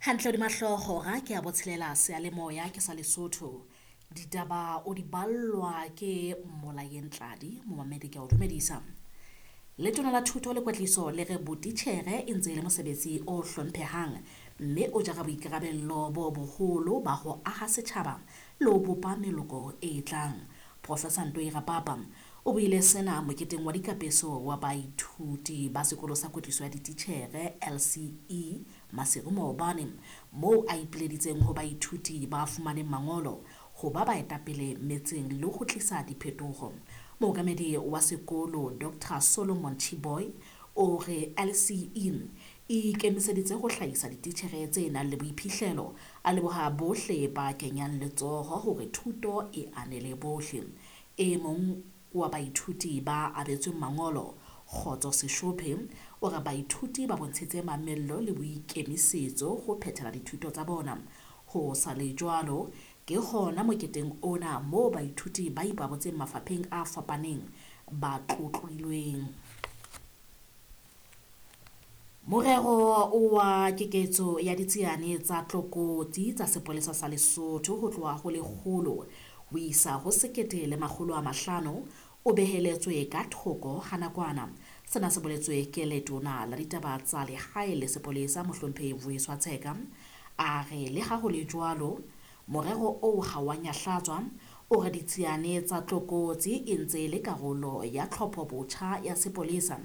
Hantle hodima hlooho hora ke ya botshelela seyalemoya ke sa Lesotho. Ditaba o di ballwa ke Mmolayeng Tladi, momamedi ke a o dumedisa. Letona la Thuto le Kwetliso le re botitjhere e ntse e le mosebetsi o hlomphehang mme o jara boikarabello bo boholo ba ho aha setjhaba le ho bopa meloko e tlang. Professor Ntoi Rapapa o buile sena moketeng wa dikapeso wa baithuti ba sekolo sa kwetliso ya dititjhere LCE Maseru maobane, moo a ipileditseng ho baithuti ba fumaneng mangolo ho ba baetapele metseng le ho tlisa diphetoho. Mookamedi wa sekolo Dr Solomon Chiboy o re LCE e ikemiseditse ho hlahisa dititjhere tse nang le boiphihlelo, a leboha bohle ba kenyang letsoho hore thuto e anele bohle. E mong wa baithuti ba abetsweng mangolo, Kgotso Seshophe, o re baithuti ba bontshitse mamello le boikemisetso ho phethela dithuto tsa bona. Ho sa le jwalo, ke hona moketeng ona moo baithuti ba ipabotseng mafapheng a fapaneng ba tlotlilweng. Morero wa keketso ya ditsiane tsa tlokotsi tsa sepolesa sa Lesotho ho tloha ho 100 ho isa ho 1500 o beheletswe ka thoko ha nakwana. Sena se boletswe ke letona la ditaba tsa lehae le sepolesa mohlomphehi Vuyiswa Tsheka. A re le ha ho le jwalo, morero oo ha wa nyahlatswa, o re ditsiane tsa tlokotsi e ntse e le karolo ya tlhopho botjha ya sepolesa,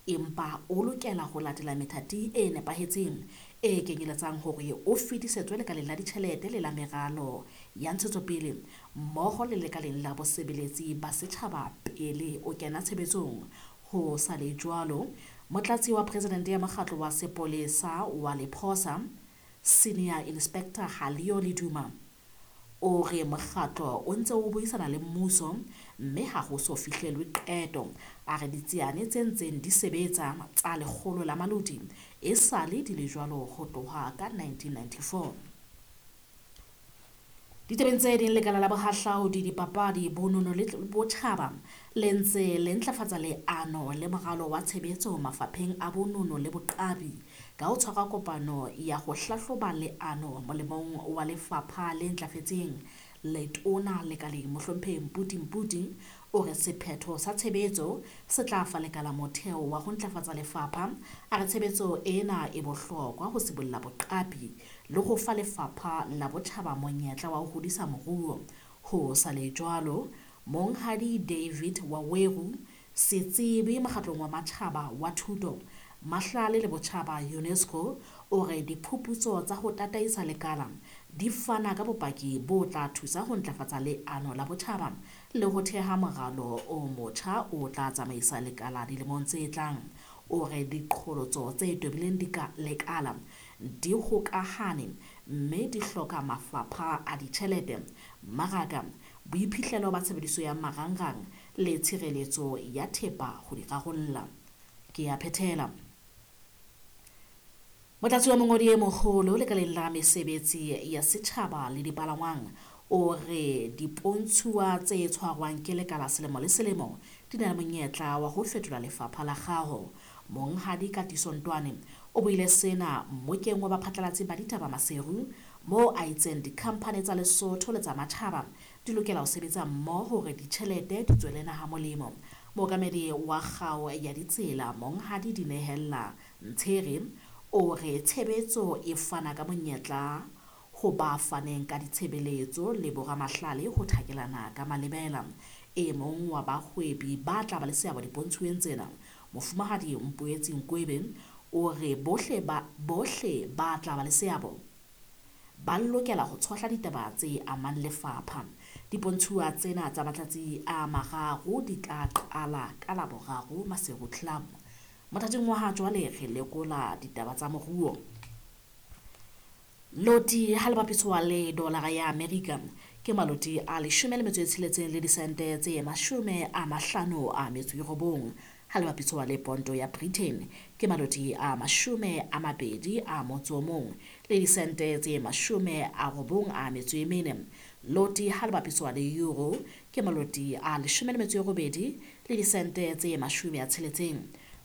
empa o lokela ho latela methati e nepahetseng e kenyeletsang hore o fetisetswe lekaleng la ditjhelete le la meralo ya ntshetsopele mmoho le lekaleng la bosebeletsi ba setjhaba pele o kena tshebetsong. Ho sa le jwalo, motlatsi wa presidente ya mokgatlo wa sepolesa wa Lephosa, Senior Inspector Halio Leduma, o re mokgatlo o ntse o buisana le mmuso mme ha ho so fihlelwe qeto. A re ditsiane tse ntseng di sebetsa tsa 100 la maloti e sale di le jwalo ho tloha ka 1994. Ditabeng tse ding, lekala la bohahlaudi, dipapadi, bonono le botjhaba le ntse le ntlafatsa leano le moralo wa tshebetso mafapheng a bonono le boqapi ka ho tshwara kopano ya ho hlahloba leano molemong wa lefapha le ntlafetseng. Letona lekaleng mohlomphehi Mputi Mputi o re sephetho sa tshebetso se tla fa lekala motheo wa ho ntlafatsa lefapha. A re tshebetso ena e bohlokwa ho sibolla boqapi le ho fa lefapha la botjhaba monyetla wa ho hodisa moruo. Ho sa le jwalo, Monghadi David Waweru, setsebi mokgatlong wa matjhaba wa thuto, mahlale le botjhaba UNESCO, o re diphuputso tsa ho tataisa lekala di fana ka bopaki bo tla thusa ho ntlafatsa leano la botjhaba le ho theha moralo o motjha o tla tsamaisa lekala dilemong tse tlang. O re diqholotso tse tobileng lekala di hokahane mme di hloka mafapha a ditjhelete, mmaraka, boiphihlelo ba tshebediso ya marangrang le tshireletso ya thepa ho di rarolla. Ke a phethela. Motlatsi wa mongodi e moholo lekaleng la mesebetsi ya setjhaba le dipalangwang o re dipontshuwa tse tshwarwang ke lekala selemo le selemo di na le monyetla wa ho fetola lefapha la kgaho. Monghadi Katiso Ntwane o buile sena mmokeng wa baphatlalatsi ba ditaba Maseru, moo a itseng dikhamphani tsa Lesotho le tsa matjhaba di lokela ho sebetsa mmoho hore ditjhelete di tswele naha molemo. Mookamedi wa kgao ya ditsela Monghadi Dinehella Ntshere o re tshebetso e fana ka monyetla ho ba faneng ka ditshebeletso le boramahlale ho thakelana ka malebela. E mong wa bahwebi ba tla ba le seabo dipontshuweng tsena, Mofumahadi Mpoetsi Nkwebe, o re bohle ba tla ba le seabo ba lokela ho tshohla ditaba tse amang lefapha. Dipontshuwa tsena tsa matsatsi a mararo di tla qala ka Laboraro Maseru Club. Mothating wa ha jwale re lekola ditaba tsa moruo. Loti ha le bapiswa le dolara ya Amerika ke maloti a 16 le disente tse 59 Ha le bapiswa le ponto ya Britain ke maloti a 21 le disente tse 94. Loti ha le bapiswa le euro ke maloti a 18 le disente tse 60.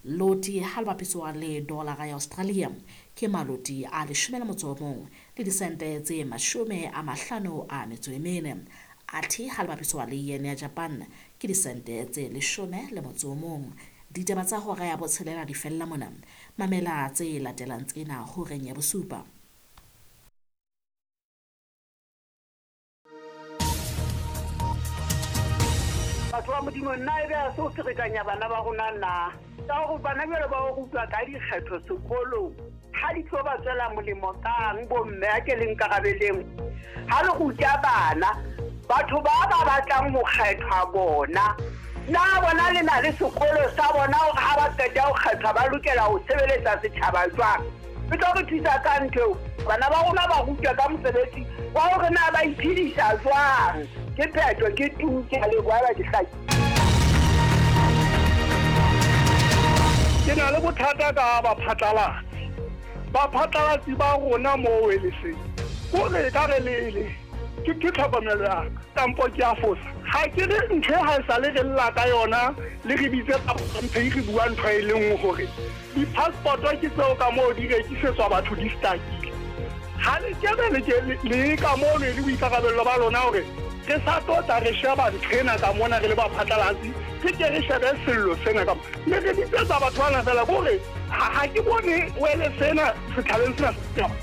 Loti ha le bapiswa le dolara ya Australia ke maloti a 11 le disente tse 54. Athe ha le bapiswa le yen ya Japan ke disente tse 11. Ditaba tsa hora ya botshelela di fella mona. Mamela tse latelang tsena horeng ya bosupa. Batho ba Modimo, nna ebe a se o ferekanya bana ba rona na? Ka hore bana jwale ba o rutwa ka dikgetho sekolong, ha di tlo ba tswela molemo kang bomme a ke le nkarabeleng? Ha le ruta bana, batho ba ba batlang ho kgethwa bona, na bona le na le sekolo sa bona hore ha ba qeta ho kgethwa ba lokela ho sebeletsa setjhaba jwang? E tlo re thusa ka ntho eo. Bana ba rona ba rutwa ka mosebetsi wa hore na ba iphedisa jwang. Ke phetho, ke tu, ke a leboha ba ke hlaki. Ke na le bothata ka baphatlalatsi. Baphatlalatsi ba rona moo e leseng. Kore e ka re lele. Ke tlhokomelo ya ka. Kampo ke a fosa. Ha ke re ntho e ha e sale re lla ka yona, le re bitse tsa re bua ntho e le nngwe hore di-passport ke tseo ka moo di rekisetswa batho di stakile. Ha le kebe le ke le ka moo le le boikarabello ba lona hore re sa tlo tla re sheba ntho ena ka mona re le baphatlalatsi, re ke re shebe sello sena ka le re bitsetsa batho bana fela kore ha ke bone wele sena setjhabeng sena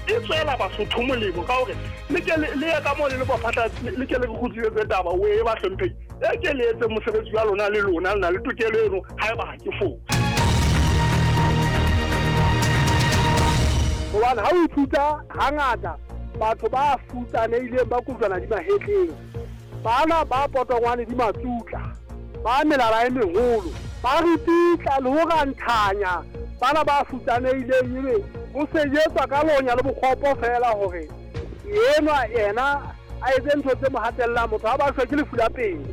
e tswela Basotho molemo ka hore le ke le ye ka moo le le baphatlalatsi, le ke le re kgutlisetse taba o e ba hlompheng. E ke le etse mosebetsi wa lona le lona le na le tokelo eno haeba ha ke fose. Hobane ha o ithuta hangata batho ba futsanehileng ba kojwana di mahetleng, bana ba potongwane di matsutla, ba melala e meholo, ba ripitla le ho ranthanya bana ba futsanehileng, ebe ho sejetswa ka lonya le bokgopo fela hore enwa yena a etse ntho tse mo hatellang. Motho ha ba shwe ke lefu la pelo.